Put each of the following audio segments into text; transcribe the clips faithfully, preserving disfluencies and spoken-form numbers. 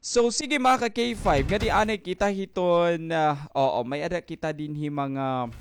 So, sige, mga ka K five, ngadi anay kita hiton, ah, oo, may-ada kita dinhi mga,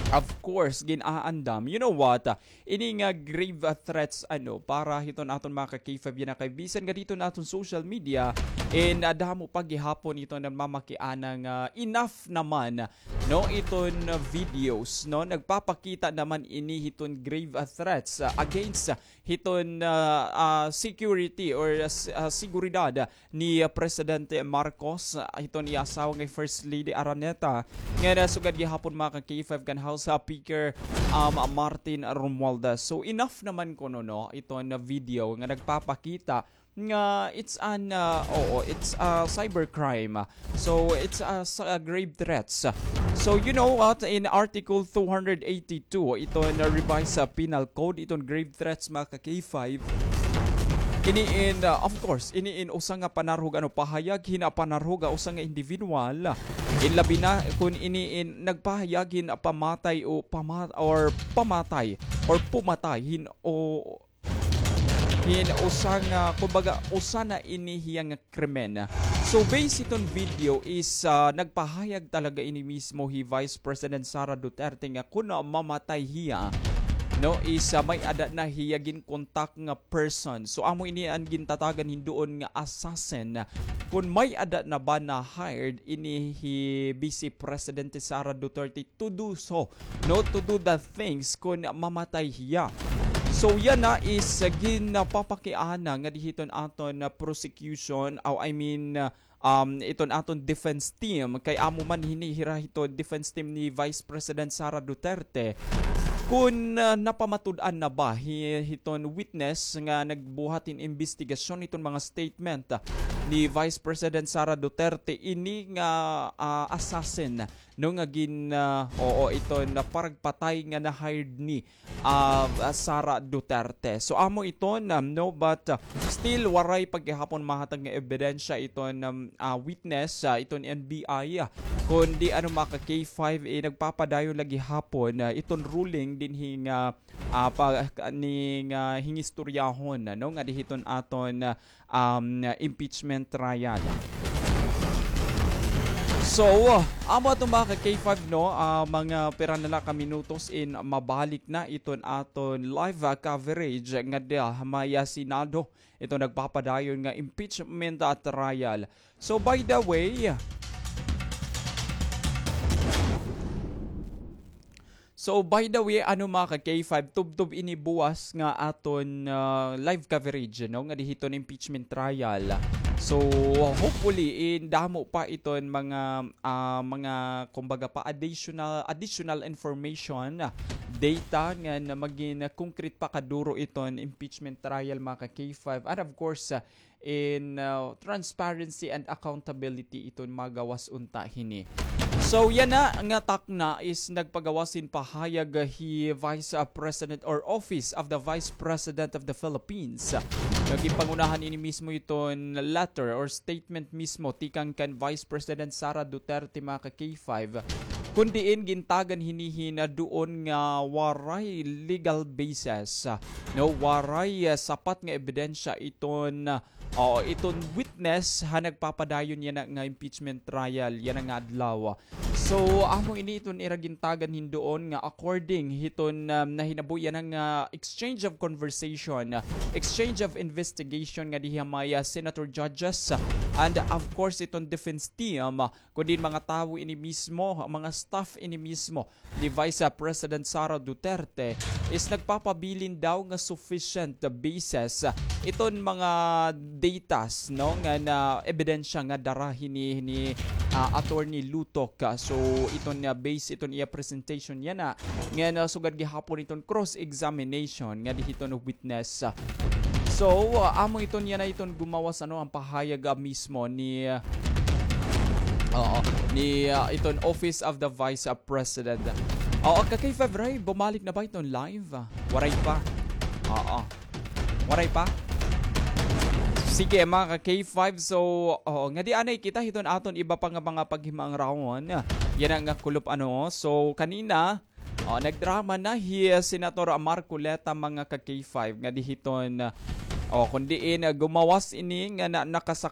of course, gin-aandam. You know what? Ah, ini nga grave, ah, threats, ano, para hiton aton mga ka K five yana kay bisan ngadi hiton aton social media, and, ah, damo pa gihapon hiton namamakiana nga enough naman, no, iton, ah, videos, no, nagpapakita naman ini hiton grave, ah, threats, ah, against, ah, hiton, ah, ah, security or, ah, s-, ah, seguridad ni, ah, Presidente Marcos, ah, hiton iya asawa nga First Lady Araneta, nga nasugad gihapon, mga ka K five, kan House, ah, Speaker, um, Martin Romualdez. So, enough naman kuno, no, iton video nga nagpapakita nga it's an, ah, oo, it's a cybercrime. So, it's a, s-, a grave threats. So, you know what? In Article two hundred eighty-two, iton revised, ah, Penal Code, iton grave threats, mga ka K five, ini in, ah, of course, ini in usa nga panarhog, ano, pahayag hin, ah, panarhog, ah, usa nga individual. In labi na kun ini in nagpahayag hin, ah, pamatay o pama-, or pamatay or pumatay hin o hin usa nga, kumbaga, usa na ini hiya nga krimen. So, based hiton video is, ah, nagpahayag talaga ini mismo hi Vice President Sara Duterte nga kun mamatay hiya, no, is, ah, may-ada na hiya ginkontak nga person. So, amo ini an gintatagan hin duon nga assassin. Kun may-ada na ba na hired ini hi Vice Presidente Sara Duterte to do so, no, to do the things kun mamatay hiya. So, yana is, uh, ginpapakiana ngadi hiton aton, uh, prosecution, aw, I mean, uh, um, iton aton defense team, kay amo man hini hira hiton defense team ni Vice President Sara Duterte, kun, uh, napamatud-an na ba hi-, hiton witness nga nagbuhat hin imbestigasyon hiton mga statement, uh, ni Vice President Sara Duterte ini nga, uh, assassin, no, nga gin-, ah, oo, iton paragpatay nga na-hired ni, ah, Sara Duterte. So, amo iton, um, no, but, ah, still waray pa gihapon mahatag nga ebidensya iton, um, ah, witness, ah, iton N B I, ah, kundi ano, mga ka K five, eh, nagpapadayon la gihapon, ah, iton ruling dinhi nga, ah, pa-, ka-, ni nga hingistoryahon, ano, ngadi hiton aton, ah, um, impeachment trial. So, amo aton, mga ka K five, no, ah, mga pira na la ka minutos in mabalik na iton aton live, ah, coverage ngada ha may, ah, Senado, iton nagpapadayon nga impeachment, ah, trial. So, by the way, So, by the way, ano, mga ka K five, tubtob ini buwas nga aton, ah, live coverage, no, ngadi hiton impeachment trial. So, hopefully, in damo pa iton mga, ah, mga, kumbaga pa, additional, additional information, ah, data nga na magin concrete pa kaduro iton impeachment trial, mga ka K five. And of course, ah, in, uh, transparency and accountability iton magawas unta hini. So, yana nga takna is nagpagawas hin pahayag hi Vice, uh, President or Office of the Vice President of the Philippines. Nga ginpangunahan ini mismo iton letter or statement mismo tikang kan Vice President Sara Duterte, mga ka K five. Kun diin gintagan hini hin duon nga waray legal basis, no, waray, ah, sapat nga ebidensya iton, ah, oo, iton witness ha nagpapadayon yana nga impeachment trial yana nga adlaw. So, amo ini iton ira gintagan hin duon nga according hiton, um, nahinabo yana nga exchange of conversation, ah, exchange of investigation ngadi ha may, ah, senator judges, ah, and of course iton defense team, ah, kundi mga tawo ini mismo, mga staff ini mismo ni Vice President Sara Duterte is nagpapabilin daw nga sufficient basis, ah, iton mga datas, no, nga na ebidensya nga dara hini ni, ah, Attorney Lutok. Ah, so, iton nga base, iton iya presentation yana, nga nasugad gihapon iton cross-examination ngadi hiton witness. So, ah, amo iton yana iton gumawas, ano, an pahayag, ah, mismo ni, ah, oo, ni, ah, iton Office of the Vice, ah, President. Oo, ka K five Ray, bumalik na ba iton live? Ah, waray pa. Oo. Waray pa? Sige, mga ka K five, so, oo, ngadi anay kita hiton aton iba pa nga mga paghimangrawan. Yana nga kulop, ano. So, kanina, oh, nagdrama na hi Senator Marcoleta, mga ka K five, ngadi hiton, oh, kun diin, ah, gumawas ini nga na-, nakasakay